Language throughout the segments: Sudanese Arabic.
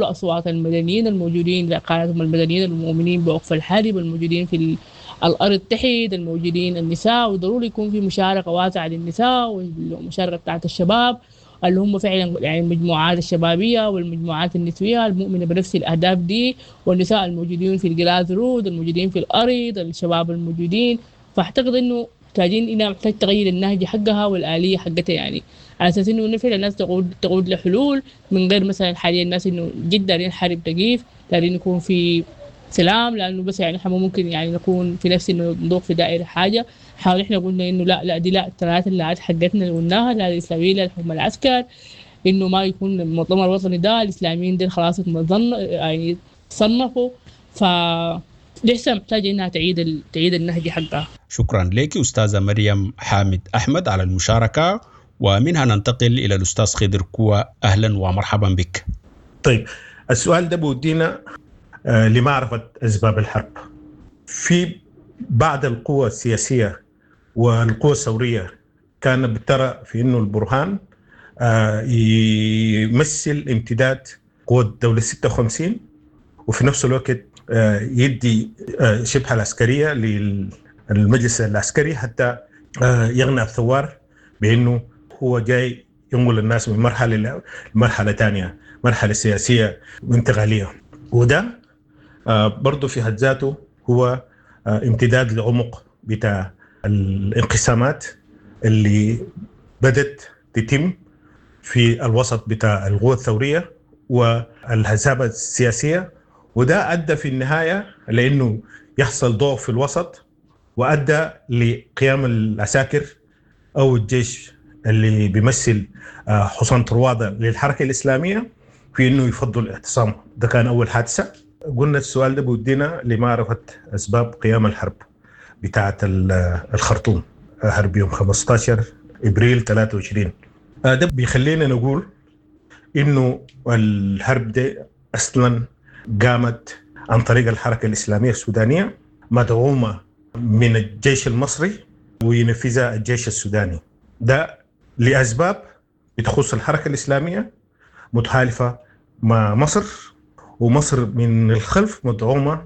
أصوات المدنيين الموجودين، قادتهم المدنيين المؤمنين بوقف الحرب، الموجودين في الأرض تحت، الموجودين النساء، وضروري يكون في مشاركة واسعة للنساء والمشاركة بتاعت الشباب اللي هم فعلا يعني المجموعات الشبابية والمجموعات النسوية المؤمنة بنفس الأهداف دي، والنساء الموجودين في ال grassroot، الموجودين في الأرض، الشباب الموجودين. فأعتقد إنه محتاجين إنها محتاج تغير النهج حقها والآلية حقتها، يعني على أساس إنه فعلا الناس تقود لحلول من غير مثلا حاليا الناس إنه جدا دارين الحرب تقيف، دارين يكون في سلام، لأنه بس يعني إحنا ممكن يعني نكون في نفس إنه نضوق في دائرة حاجة. حاول إحنا قلنا إنه لا لا دي لا الثلاثة اللي حقتنا اللي قلناها، لا الإسلاميين لا الحكم العسكر، إنه ما يكون المؤتمر الوطني ده الإسلاميين دي خلاص يعني صنفوا. ف لسه محتاجة إنها تعيد النهج حقها. شكرا لك أستاذة مريم حامد أحمد على المشاركة، ومنها ننتقل إلى الأستاذ خضر كوا. أهلا ومرحبا بك. طيب السؤال ده بودينا لمعرفة أسباب الحرب. في بعض القوى السياسية والقوى الثورية كانت بترى في أنه البرهان يمثل امتداد قوة الدولة 56، وفي نفس الوقت يدي شبه العسكرية للمجلس العسكري حتى يغنى الثوار بأنه هو جاي ينقل الناس من مرحلة لمرحلة ثانية، مرحلة سياسية وانتقالية. وده برضو في حد ذاته هو امتداد لعمق بتاع الانقسامات اللي بدت تتم في الوسط بتاع القوى الثورية والحزاب السياسية، وده أدى في النهاية لأنه يحصل ضعف في الوسط، وأدى لقيام العساكر أو الجيش اللي بيمثل حصان طروادة للحركة الإسلامية في أنه يفضل الاعتصام. ده كان أول حادثة. قلنا السؤال ده بودينا لمعرفة أسباب قيام الحرب بتاعة الخرطوم، حرب يوم 15 إبريل 23. ده بيخلينا نقول إنه الحرب دي أصلا قامت عن طريق الحركة الإسلامية السودانية مدعومة من الجيش المصري وينفذها الجيش السوداني. ده لأسباب بتخص الحركة الإسلامية متحالفة مع مصر، ومصر من الخلف مدعومة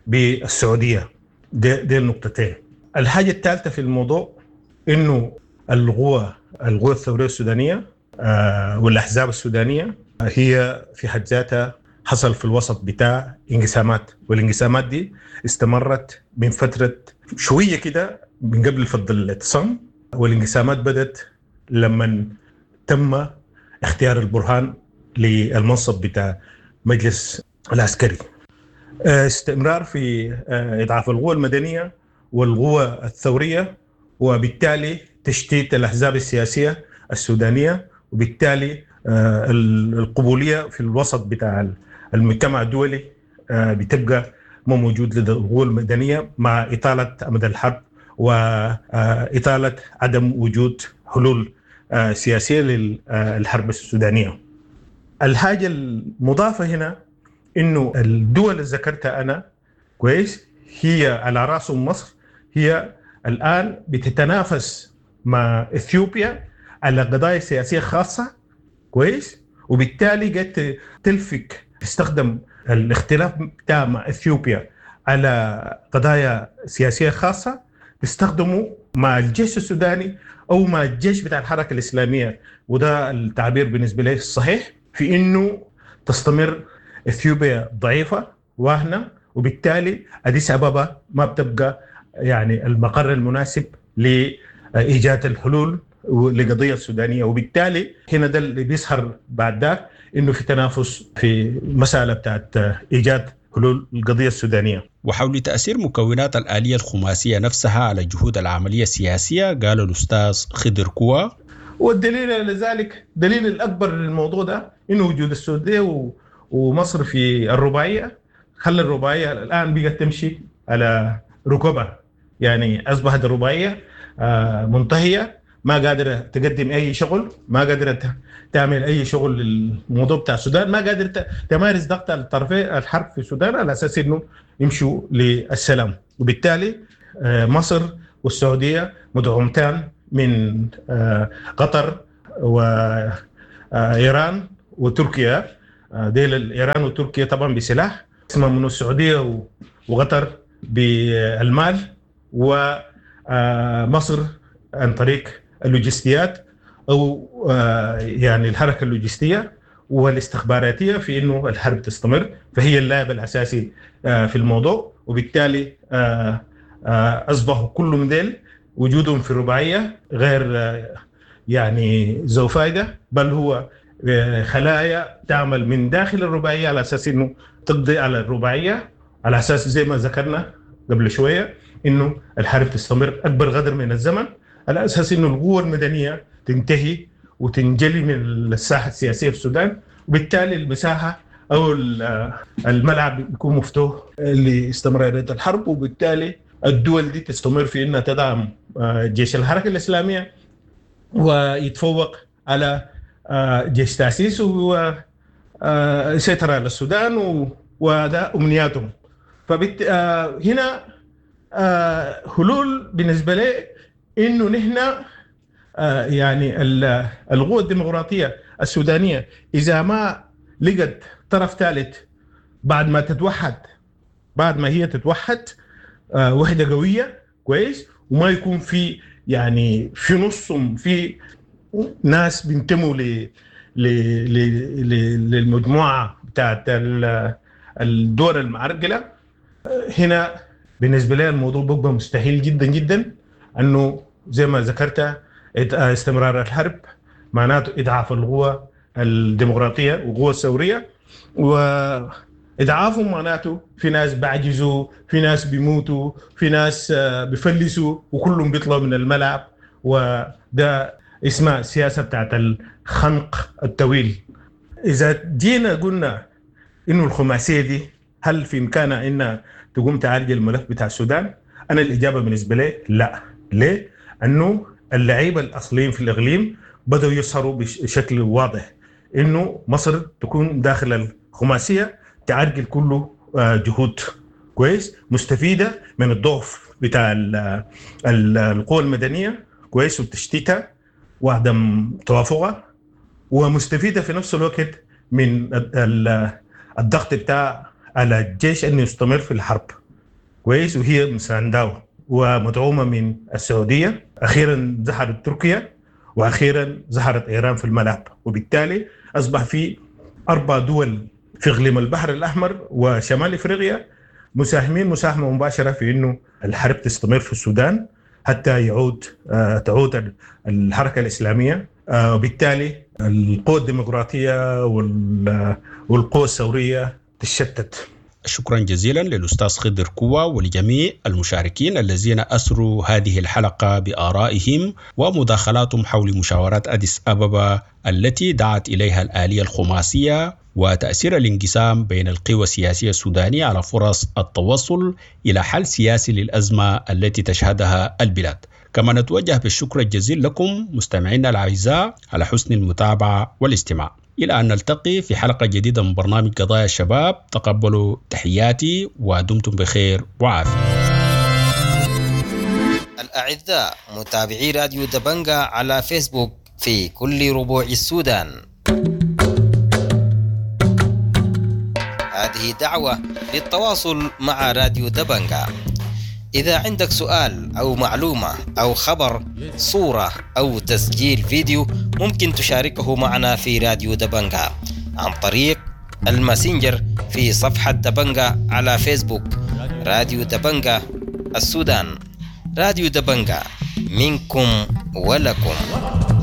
بالسعودية. دي النقطتين. الحاجة الثالثة في الموضوع إنه القوى الثورية السودانية والأحزاب السودانية هي في حد ذاتها حصل في الوسط بتاع انقسامات، والانقسامات دي استمرت من فترة شوية كده من قبل فض الاعتصام، والانقسامات بدت لما تم اختيار البرهان للمنصب بتاع مجلس العسكري. استمرار في إضعاف القوى المدنية والقوى الثورية، وبالتالي تشتيت الأحزاب السياسية السودانية، وبالتالي القبولية في الوسط بتاع المجتمع الدولي بتبقى ما موجود لدى القوى المدنية مع إطالة أمد الحرب وإطالة عدم وجود حلول سياسية للحرب السودانية. الحاجة المضافة هنا إنه الدول اللي ذكرتها أنا كويس هي على رأسهم مصر، هي الآن بتتنافس مع إثيوبيا على قضايا سياسية خاصة كويس، وبالتالي قد تلفك تستخدم الاختلاف بتاع مع إثيوبيا على قضايا سياسية خاصة تستخدمه مع الجيش السوداني أو مع الجيش بتاع الحركة الإسلامية. وده التعبير بالنسبة لي الصحيح في إنه تستمر إثيوبيا ضعيفة واهنة، وبالتالي أديس أبابا ما بتبقى يعني المقر المناسب لإيجاد الحلول لقضية السودانية. وبالتالي هنا ده اللي بيظهر بعد ذاك إنه في تنافس في مسألة بتاعت إيجاد حلول القضية السودانية. وحول تأثير مكونات الآلية الخماسية نفسها على جهود العملية السياسية قال الأستاذ خضر كوا: والدليل على ذلك، دليل الأكبر للموضوع ده إنه وجود السعودية ومصر في الرباعية خلى الرباعية الآن بقت تمشي على ركبها، يعني أصبحت الرباعية منتهية، ما قادرة تقدم أي شغل، ما قادرة تعمل أي شغل للموضوع بتاع السودان، ما قادرة تمارس ضغط على الطرفين الحرب في السودان على أساس إنه يمشوا للسلام. وبالتالي مصر والسعودية مدعومتان من قطر وإيران وتركيا ديل ايران وتركيا طبعا بسلاح، اسمها من السعودية وقطر بالمال، ومصر عن طريق اللوجستيات او يعني الحركة اللوجستية والاستخباراتيه في انه الحرب تستمر، فهي اللاعب الاساسي في الموضوع. وبالتالي اصبحوا كل من ديل وجودهم في الرباعية غير يعني ذو فائدة، بل هو خلايا تعمل من داخل الرباعية على اساس انه تقضي على الرباعية، على اساس زي ما ذكرنا قبل شوية انه الحرب تستمر اكبر قدر من الزمن، على اساس انه القوة المدنية تنتهي وتنجلي من الساحة السياسية في السودان، وبالتالي المساحة او الملعب بيكون مفتوح لاستمراريه الحرب، وبالتالي الدول دي تستمر في انها تدعم جيش الحركة الاسلامية ويتفوق على جيش تاسيس ويسيطر على السودان، وده امنياتهم. فبت هنا حلول بالنسبة لي انه نحن يعني القوى الديمقراطية السودانية اذا ما لقت طرف ثالث بعد ما تتوحد، بعد ما هي تتوحد وحده قوية كويس، وما يكون في يعني في نصهم في ناس بينتموا ل للمجموعة بتاعت الدول المعرقله، هنا بالنسبة لي الموضوع بيبقى مستحيل جدا جدا. انه زي ما ذكرت استمرار الحرب معناته اضعاف القوى الديمقراطية والقوى الثورية، واضعافهم معناته في ناس بعجزوا، في ناس بيموتوا، في ناس بيفلسوا، وكلهم بيطلعوا من الملعب. وده اسمها السياسة بتاعت الخنق الطويل. اذا جينا قلنا انه الخماسيه دي هل في امكانها انها تقوم تعالج الملف بتاع السودان؟ انا الاجابة بالنسبة لي لا. ليه؟ انه اللعيبة الاصليين في الاقليم بدأوا يظهروا بشكل واضح انه مصر تكون داخل الخماسيه تعرقل كله جهود كويس مستفيدة من الضعف بتاع القوى المدنية كويس وتشتيتها وعدم توافقها، ومستفيده في نفس الوقت من الضغط بتاع على الجيش انه يستمر في الحرب كويس، وهي مسانداه ومدعومه من السعودية. اخيرا ظهرت تركيا، واخيرا ظهرت ايران في الملعب، وبالتالي اصبح في 4 دول في اقليم البحر الاحمر وشمال افريقيا مساهمين مساهمة مباشرة في انه الحرب تستمر في السودان حتى تعود الحركة الاسلامية، وبالتالي القوى الديمقراطية والقوى الثورية تشتت. شكرا جزيلا للأستاذ خضر كوا ولجميع المشاركين الذين أسروا هذه الحلقة بآرائهم ومداخلاتهم حول مشاورات أديس أبابا التي دعت إليها الآلية الخماسية وتأثير الانقسام بين القوى السياسية السودانية على فرص التوصل إلى حل سياسي للأزمة التي تشهدها البلاد. كما نتوجه بالشكر الجزيل لكم مستمعينا الأعزاء على حسن المتابعة والاستماع. إلى أن نلتقي في حلقة جديدة من برنامج قضايا الشباب، تقبلوا تحياتي ودمتم بخير وعافية. الأعزاء متابعي راديو دبنجا على فيسبوك في كل ربوع السودان، هذه دعوة للتواصل مع راديو دبنجا. إذا عندك سؤال أو معلومة أو خبر، صورة أو تسجيل فيديو، ممكن تشاركه معنا في راديو دبنجا عن طريق الماسنجر في صفحة دبنجا على فيسبوك. راديو دبنجا السودان، راديو دبنجا منكم ولكم.